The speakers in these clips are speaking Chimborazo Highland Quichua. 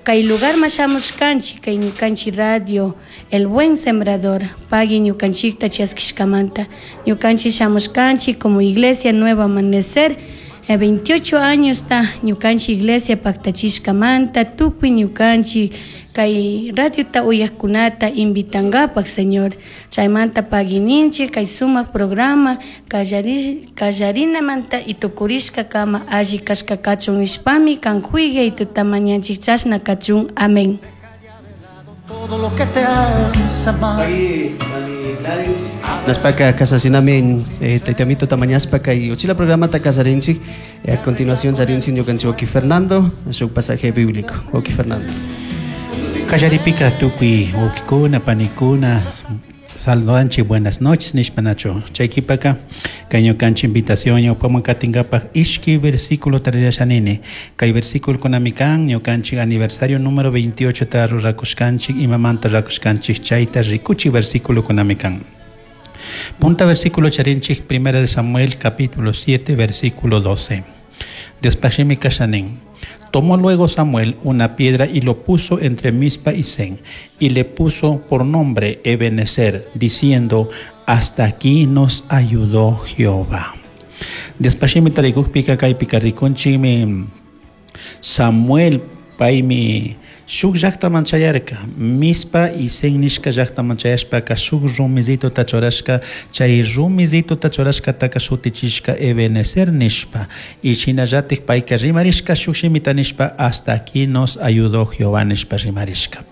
Kay lugarman shamushkanchik kay ñukanchik radio El Buen Sembrador pagui ñukanchikta chaskishkamanta. Ñukanchik shamushkanchik como Iglesia Nuevo Amanecer 28 añosta ñukanchik iglesia paktachishkamanta tukuy ñukanchik kay radiota uyakkunata invitangapak, Señor. Chaymanta pagui ninchik kay sumak programa kallarinamanta y tukurishkakama alli kashka kachun nishpami kan kuyay tutamanchik chashna kachun. Amén. Todo lo que te hace mal. Naspaka kasasinami taytamito tamañaspa kay uchila programata kasarinchik. A continuación charinchik ñukanchik wawki Fernando shuk pasaje bíblico. Wawki Fernando. Kallaripika tukuy wawkikuna panikuna saludanchik buenas noches nishpa nachu chay kipaka kay ñukanchik invitación ñawpaman katinkapak ishki versículo tarillashanini kay versículo kunami kan ñukanchik aniversario número 28 ta rurakushkanchik imamanta rurakushkanchik chayta rikuchik versículo kunami kan. Punta versículo charinchik primera de Samuel capítulo 7 versículo 12. Diospashimi kashanin. Tomó luego Samuel una piedra y lo puso entre Mizpa y Sen, y le puso por nombre Ebenezer, diciendo: hasta aquí nos ayudó Jehová. Diospashimi tarikukpika kaypika rikunchikmi Samuel paymi shuk llaktaman chayarka Mizpa y Sen nishka llaktaman chayashpaka shuk rumizituta churashka chay rumizituta churashkataka shutichishka Ebenezer nishpa y shinallatik payka rimarishka shuk shimita nishpa hasta aquí nos ayudó Jehová nishpa rimarishka.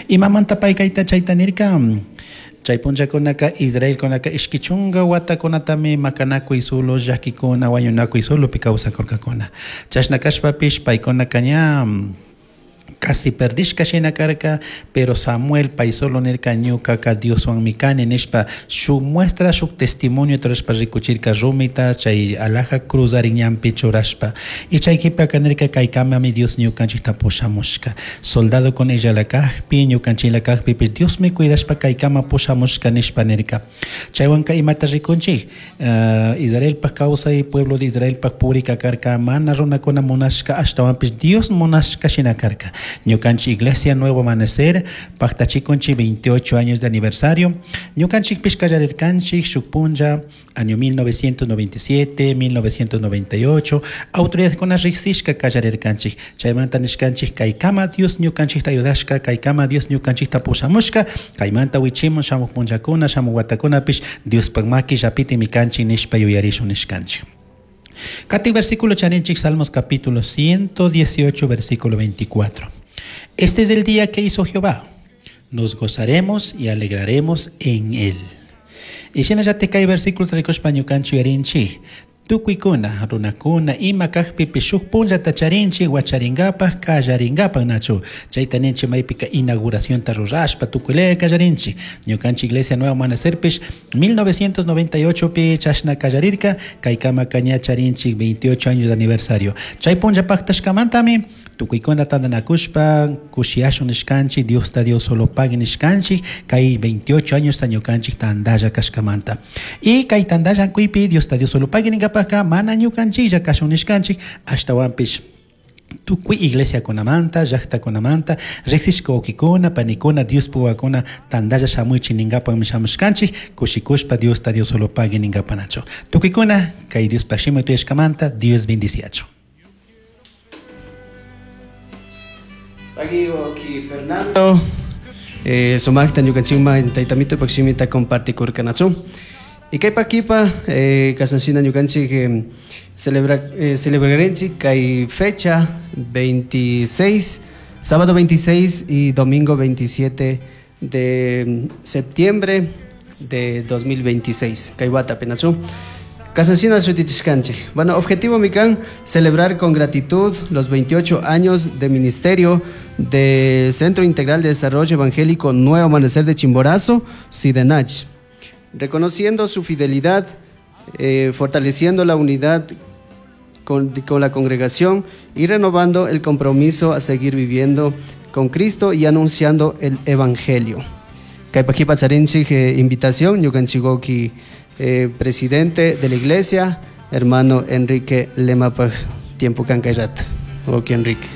Imamanta paykayta chayta nirka chay punllakunaka Israelkunaka ishki chunka watakunatami makanakuy solo llakikuna wañunakuy solopi kawsakurkakuna chashna kashpapish paykunaka ña casi perdishka shina karka pero Samuel pay solo nirka ñukaka Dioswanmi kani nishpa shuk muestra shuk testimonio churashpa rikuchirka rumita chay alhaja cruzarin ñanpi churashpa y chay kipaka nirka kaykamami Dios ñukanchikta pushamushka soldado con ella kakpi ñukanchikla kakpipish Diosmi cuidashpa kaykama pushamushka nishpa nirka chaywanka imata rikunchik Israelpak kawsay pueblo de Israelpak purika karka mana runakuna munashka ashtawanpish Dios munashka shina karka. Ñukanchik Iglesia Nuevo Amanecer paktachikunchik 28 años de aniversario. Ñukanchikpish kallarirkanchik shuk punlla año 1997, 1998 autoridadkuna riksishka kallarirkanchik chaymanta nishkanchik kaykama Dios ñukanchikta ayudashka kaykama Dios ñukanchikta pushamushka kaymanta wichimun shamuk punllakuna shamuk watakunapish Diospak maki llapitimi kanchik nishpa yuyarishun nishkanchik. Katik versículo charinchik Salmos capítulo 118 versículo 24. Este es el día que hizo Jehová. Nos gozaremos y alegraremos en él. Y shinallatik kay versículo tarikushpa ñukanchik yuyarinchik tukuykuna runakuna ima kakpipish shuk punllata charinchik wacharinkapak kallarinkapak nachu chayta ninchik maypika inauguracionta rurashpa tukuylaya kallarinchik ñukanchik Iglesia Nuevo Amanecerpish 1998 pi chashna kallarirka kaykamaka ña charinchik 28 años de aniversario chay punlla paktashkamantami tukuykuna tantanakushpa kushiyashun nishkanchik Diosta Dios solo pagui nishkanchik kay 28 años ta ñukanchik tantalla kashkamanta y kay tantalla kuypi Diosta Dios solo pagui ninkapaka mana ñukanchiklla kashun nishkanchik ashtawanpish tukuy iglesiakunamanta llaktakunamanta riksishka wawkikuna panikuna Diospuk wawakuna tantalla shamuychik ninkapakmi shamushkanchik kushikushpa Diosta Dios solo pagui ninkapanachu tukuykuna kay Diospak shimi tuyashkamanta Dios bendiciachu. Pagui wawki Fernando sumakta ñukanchikman taytamito shimita compartikurkanachu. Y kaypa kipa kashanshina ñukanchik celebrarenchik kay fecha 26, sábado 26 y domingo 27 de septiembre de 2026. Kay wata penachu. Kashanshina shutichishkanchik. Bueno, objetivo mikan, celebrar con gratitud los 28 años de ministerio del Centro Integral de Desarrollo Evangélico Nuevo Amanecer de Chimborazo, Cidenach, reconociendo su fidelidad, fortaleciendo la unidad con la congregación y renovando el compromiso a seguir viviendo con Cristo y anunciando el Evangelio. Kaypa charinchik invitación, ñukanchik presidente de la iglesia, hermano Enrique Lemapaj, tiempo kankayrat. Wawki Enrique.